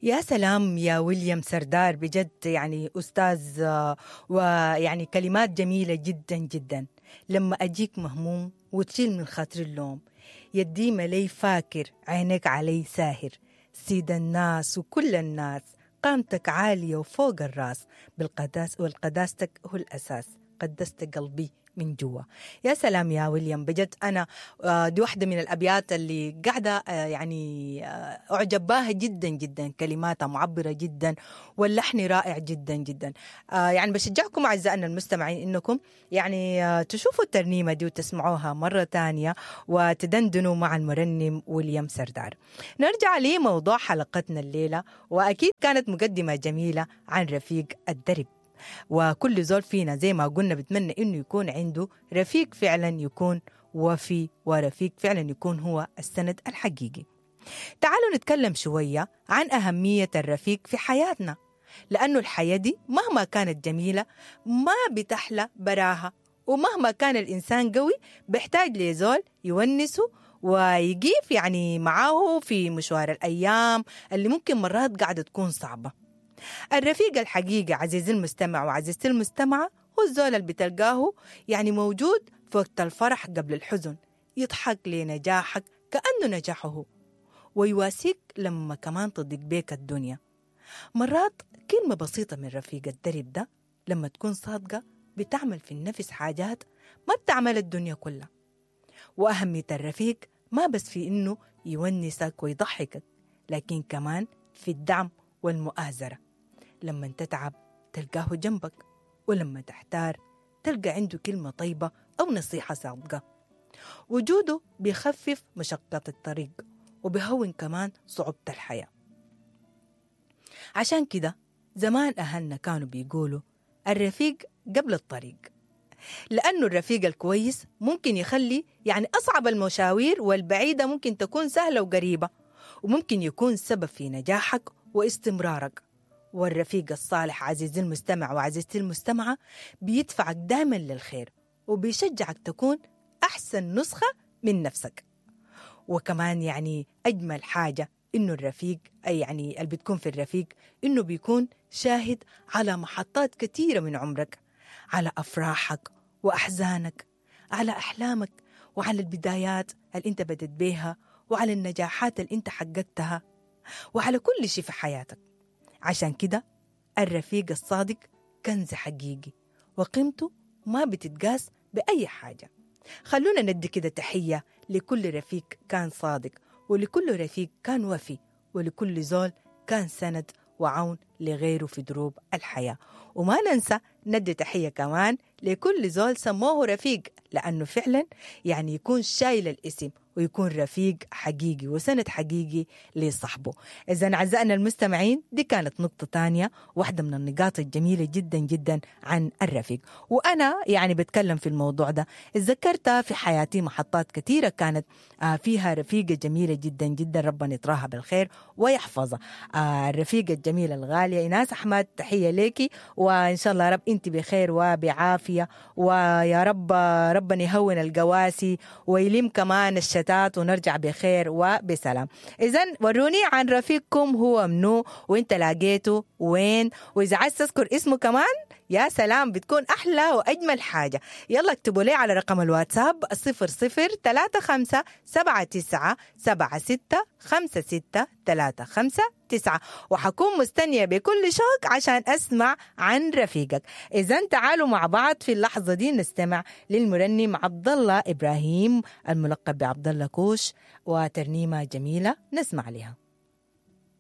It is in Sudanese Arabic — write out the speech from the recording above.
يا سلام يا ويليام سردار، بجد يعني أستاذ، ويعني كلمات جميلة جدا جدا. لما أجيك مهموم وتشيل من خاطر اللوم، يديما لي فاكر عينك علي ساهر، سيد الناس وكل الناس، قامتك عالية وفوق الراس، بالقداس والقداستك هو الأساس، قدست قلبي من جوا. يا سلام يا ويليام، بجد أنا دي واحدة من الأبيات اللي قاعدة يعني أعجب بها جدا جدا، كلماتها معبرة جدا واللحن رائع جدا جدا. يعني بشجعكم أعزائنا المستمعين إنكم يعني تشوفوا الترنيمة دي وتسمعوها مرة تانية وتدندنوا مع المرنم ويليام سردار. نرجع لموضوع حلقتنا الليلة، وأكيد كانت مقدمة جميلة عن رفيق الدرب، وكل زول فينا زي ما قلنا بتمنى إنه يكون عنده رفيق فعلا يكون وفي، ورفيق فعلا يكون هو السند الحقيقي. تعالوا نتكلم شوية عن أهمية الرفيق في حياتنا، لأنه الحياة دي مهما كانت جميلة ما بتحلى براها، ومهما كان الإنسان قوي بيحتاج لزول يونسه ويقيف يعني معاه في مشوار الأيام اللي ممكن مرات قاعدة تكون صعبة. الرفيق الحقيقي عزيزي المستمع وعزيزتي المستمعة هو الزول اللي بتلقاه يعني موجود في وقت الفرح قبل الحزن، يضحك لنجاحك كأنه نجاحه هو، ويواسيك لما كمان تضيق بيك الدنيا. مرات كلمة بسيطة من رفيق الدرب ده لما تكون صادقة بتعمل في النفس حاجات ما بتعمل الدنيا كلها. وأهمية الرفيق ما بس في إنه يونسك ويضحكك، لكن كمان في الدعم والمؤازرة. لما تتعب تلقاه جنبك، ولما تحتار تلقى عنده كلمة طيبة أو نصيحة صادقة. وجوده بيخفف مشقة الطريق وبيهون كمان صعوبة الحياة. عشان كده زمان أهلنا كانوا بيقولوا الرفيق قبل الطريق، لأنه الرفيق الكويس ممكن يخلي يعني أصعب المشاوير والبعيدة ممكن تكون سهلة وقريبة، وممكن يكون سبب في نجاحك واستمرارك. والرفيق الصالح عزيزي المستمع وعزيزتي المستمعة بيدفعك دائما للخير وبيشجعك تكون أحسن نسخة من نفسك. وكمان يعني أجمل حاجة إنه الرفيق، أي يعني اللي بتكون في الرفيق، إنه بيكون شاهد على محطات كثيرة من عمرك، على أفراحك وأحزانك، على أحلامك وعلى البدايات اللي أنت بدت بيها، وعلى النجاحات اللي أنت حققتها، وعلى كل شيء في حياتك. عشان كده الرفيق الصادق كنز حقيقي وقيمته ما بتتقاس بأي حاجة. خلونا ندي كده تحية لكل رفيق كان صادق، ولكل رفيق كان وفي، ولكل زول كان سند وعون لغيره في دروب الحياة. وما ننسى ندي تحية كمان لكل زول سموه رفيق، لأنه فعلا يعني يكون شايل الاسم ويكون رفيق حقيقي وسند حقيقي لصاحبه. إذا أعزائنا المستمعين دي كانت نقطة تانية، واحدة من النقاط الجميلة جدا جدا عن الرفيق. وأنا يعني بتكلم في الموضوع ده اتذكرت في حياتي محطات كثيرة كانت فيها رفيقة جميلة جدا جدا، ربنا يطراها بالخير ويحفظها. الرفيقة الجميلة الغالية إيناس أحمد، تحية ليكي، وإن شاء الله رب أنت بخير وبعافية، ويا رب ربنا يهون القواسي ويلم كمان الشتات ونرجع بخير وبسلام. إذن وروني عن رفيقكم هو منو وانت لاقيته وين، وإذا عايز تذكر اسمه كمان يا سلام بتكون أحلى وأجمل حاجة. يلا اكتبوا لي على رقم الواتساب 00 35 79 76 56 35 9، وحكون مستنية بكل شوق عشان أسمع عن رفيقك. إذن تعالوا مع بعض في اللحظة دي نستمع للمرنم عبد الله إبراهيم الملقب بعبد الله كوش وترنيمة جميلة نسمع لها.